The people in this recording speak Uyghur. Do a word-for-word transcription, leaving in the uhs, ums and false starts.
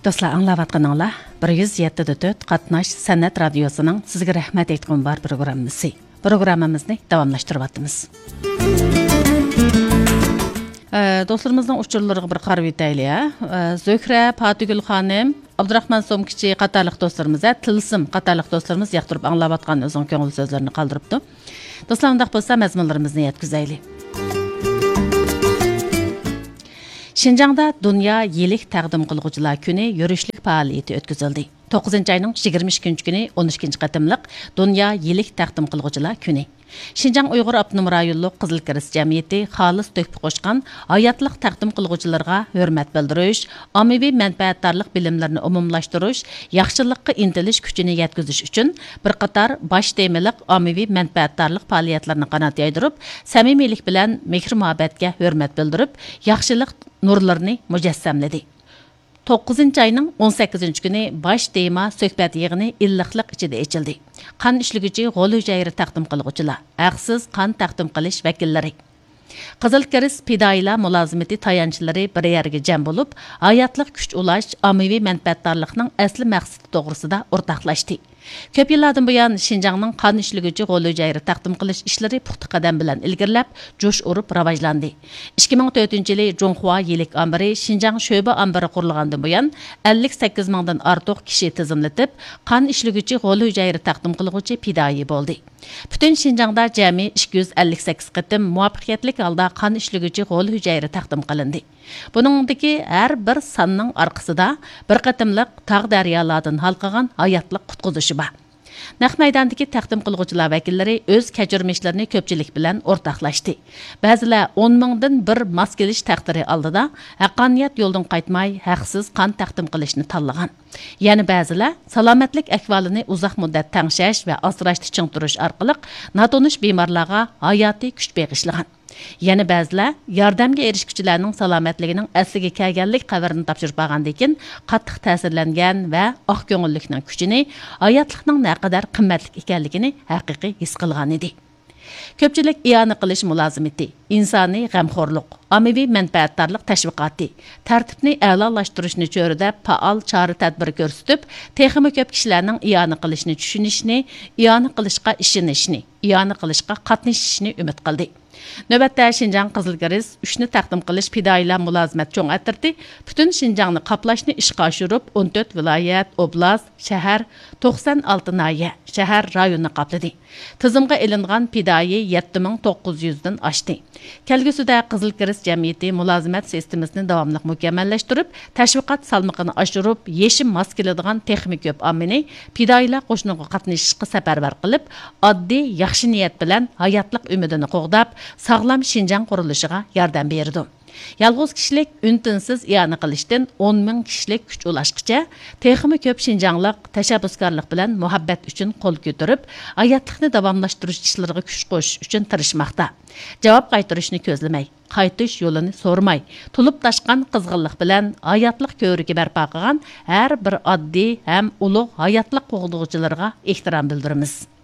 دوستلار، ئاڭلاۋاتقىنىڭلار بىر يۈز يەتتە دە تۆت قاتناش سەنئەت رادىيوسىنىڭ سىزگە رەھمەت ئېيتقۇم بار پروگراممىسى. پروگراممىمىزنى داۋاملاشتۇرۇۋاتىمىز. ئە، دوستلىرىمىزنىڭ ئۇچۇرلىرىغا بىر قارىۋېتەيلى، ھە. ئە، زۆھرە، پاتىگۈل خانىم، ئابدۇراخمان سومكىچى قاتارلىق دوستلىرىمىز، ھە، تىلسىم قاتارلىق دوستلىرىمىز ياقتۇرۇپ ئاڭلاۋاتقان ئۆزىنىڭ كۆڭۈل سۆزلىرىنى قالدۇرۇپتۇ. دوستلار، ئۇنداق بولسا مەزمۇنلىرىمىزنى يەتكۈزەيلى. شىنجاڭدا دۇنيا يىلىك تەقدىم قىلغۇچىلار كۈنى يۈرۈشلۈك پائالىيىتى ئۆتكۈزۈلدى. توققۇزىنچى ئاينىڭ يىگىرمە ئىككىنچى كۈنى ئون ئىككىنچى قېتىملىق دۇنيا يىلىك تەقدىم قىلغۇچىلار كۈنى. شىنجاڭ ئۇيغۇر ئاپتونوم رايونلۇق قىزىل كىرېست جەمئىيىتى خالىس تۆھپە قوشقان ھاياتلىق تەقدىم قىلغۇچىلىرىغا ھۆرمەت بىلدۈرۈش، ئاممىۋى مەنپەئەتدارلىق بىلىملىرىنى ئومۇملاشتۇرۇش، ياخشىلىققا ئىنتىلىش كۈچىنى يەتكۈزۈش ئۈچۈن بىر قاتار باش تېمىلىق ئاممىۋى مەنپەئەتدارلىق پائالىيەتلىرىنى قانات يايدۇرۇپ، سەمىمىيلىك بىلەن مېھىر-مۇھەببەتكە ھۆرمەت بىلدۈرۈپ، ياخشىلىق نۇرلىرىنى مۇجەسسەملىدى. توققۇزىنچى ئاينىڭ ئون سەككىزىنچى كۈنى باش تېما سۆھبەت يىغىنى ئىللىقلىق ئىچىدە ئېچىلدى. قان ئىشلىگۈچى غول ھۈجەيرە تەقدىم قىلغۇچىلار، ھەقسىز قان تەقدىم قىلىش ۋەكىللىرى. قىزىل كىرېست پىدائىيلار مۇلازىمىتى تايانچلىرى بىر يەرگە جەم بولۇپ، ھاياتلىق كۈچ ئۇلاش، ئاممىۋى مەنپەئەتدارلىقنىڭ ئەسلى مەقسىتى توغرىسىدا ئورتاقلاشتى. كۆپ يىللاردىن بۇيان شىنجاڭنىڭ قان ئىشلىگۈچى غول ھۈجەيرە تەقدىم قىلىش ئىشلىرى پۇختا قەدەم بىلەن ئىلگىرىلەپ، جۇش ئۇرۇپ راۋاجلاندى. ئىككى مىڭ تۆتىنچى يىلى جۇڭخۇا يىلىك ئامبىرى شىنجاڭ شۆبە ئامبىرى قۇرۇلغاندىن بۇيان، ئەللىك سەككىز مىڭدىن ئارتۇق كىشى تىزىملىتىپ، قان ئىشلىگۈچى غول ھۈجەيرە تەقدىم قىلغۇچى پىدائىي بولدى. پۈتۈن شىنجاڭدا جەمئىي ئىككى يۈز ئەللىك سەككىز قېتىم مۇۋەپپەقىيەتلىك ھالدا قان ئىشلىگۈچى غول ھۈجەيرە تەقدىم قىلىندى. بۇنىڭدىكى ھەر بىر ساننىڭ ئارقىسىدا بىر قېتىملىق تاغ دەريالاردىن ھالقىغان ھاياتلىق قۇتقۇزۇشى بار. نەق مەيداندىكى تەقدىم قىلغۇچىلار ۋەكىللىرى ئۆز كەچۈرمىشلىرىنى كۆپچىلىك بىلەن ئورتاقلاشتى. بەزىلەر ئون مىڭدىن بىر ماس كېلىش تەقدىرى ئالدىدا ھەققانىيەت يولىدىن قايتماي، ھەقسىز قان تەقدىم قىلىشنى تاللىغان. يەنە بەزىلەر سالامەتلىك ئەھۋالىنى ئۇزاق مۇددەت تەڭشەش ۋە ئاسراشتا چىڭ تۇرۇش ئارقىلىق ناتونۇش بىمارلارغا ھاياتىي كۈچ بېغىشلىغان. يەنە بەزىلەر ياردەمگە ئېرىشكۈچىلەرنىڭ سالامەتلىكىنىڭ ئەسلىگە كەلگەنلىك خەۋىرىنى تاپشۇرۇپ ئالغاندىن كېيىن، قاتتىق تەسىرلەنگەن ۋە ئاق كۆڭۈللۈكنىڭ كۈچىنى، ھاياتلىقنىڭ نەقەدەر قىممەتلىك ئىكەنلىكىنى ھەقىقىي ھېس قىلغانىدى. كۆپچىلىك ئىئانە قىلىش مۇلازىمىتى، ئىنسانىي غەمخورلۇق، ئاممىۋى مەنپەئەتدارلىق تەشۋىقاتى، تەرتىپنى ئەلالاشتۇرۇشنى چۆرىدەپ، پائال چارە-تەدبىر كۆرسىتىپ، تېخىمۇ كۆپ كىشىلەرنىڭ ئىئانە قىلىشنى چۈشىنىشىنى، ئىئانە قىلىشقا ئىشىنىشىنى، ئىئانە قىلىشقا قاتنىشىشىنى ئۈمىد قىلدى. نۆۋەتتە، شىنجاڭ قىزىل كىرېست ئۈچنى تەقدىم قىلىش پىدائىيلار مۇلازىمەت چوڭ ئەترىتى پۈتۈن شىنجاڭنى قاپلاشنى ئىشقا ئاشۇرۇپ، ئون تۆت ۋىلايەت، ئوبلاست، شەھەر، توقسان ئالتە ناھىيە، شەھەر، رايوننى قاپلىدى. تىزىمغا ئېلىنغان پىدائىي يەتتە مىڭ توققۇز يۈزدىن ئاشتى. كەلگۈسىدە قىزىل كىرېست جەمئىيىتى مۇلازىمەت سىستېمىسىنى داۋاملىق مۇكەممەللەشتۈرۈپ، تەشۋىقات سالمىقىنى ئاشۇرۇپ، يېشى ماس كېلىدىغان تېخىمۇ كۆپ ئاممىنى پىدائىيلار قوشۇنىغا قاتنىشىشقا سەپەرۋەر قىلىپ، ئاددىي، ياخشى نىيەت بىلەن ھاياتلىق ئۈمىدىنى قوغداپ، ساغلام شىنجاڭ قۇرۇلۇشىغا ياردەم بېرىدۇ. يالغۇز كىشىلىك ئۈن-تىنسىز ئىئانە قىلىشتىن ئون مىڭ كىشىلىك كۈچ ئۇلاشقىچە، تېخىمۇ كۆپ شىنجاڭلىق تەشەببۇسكارلىق بىلەن مۇھەببەت ئۈچۈن قول كۆتۈرۈپ، ھاياتلىقنى داۋاملاشتۇرۇش ئىشلىرىغا كۈچ قوشۇش ئۈچۈن تىرىشماقتا. جاۋاب قايتۇرۇشنى كۆزلىمەي، قايتىش يولىنى سورىماي، تولۇپ تاشقان قىزغىنلىق بىلەن ھاياتلىق كۆۋرۈكى بەرپا قىلغان ھەر بىر ئاددىي ھەم ئۇلۇغ ھاياتلىق قوغدىغۇچىلىرىغا ئېھتىرام بىلدۈرىمىز.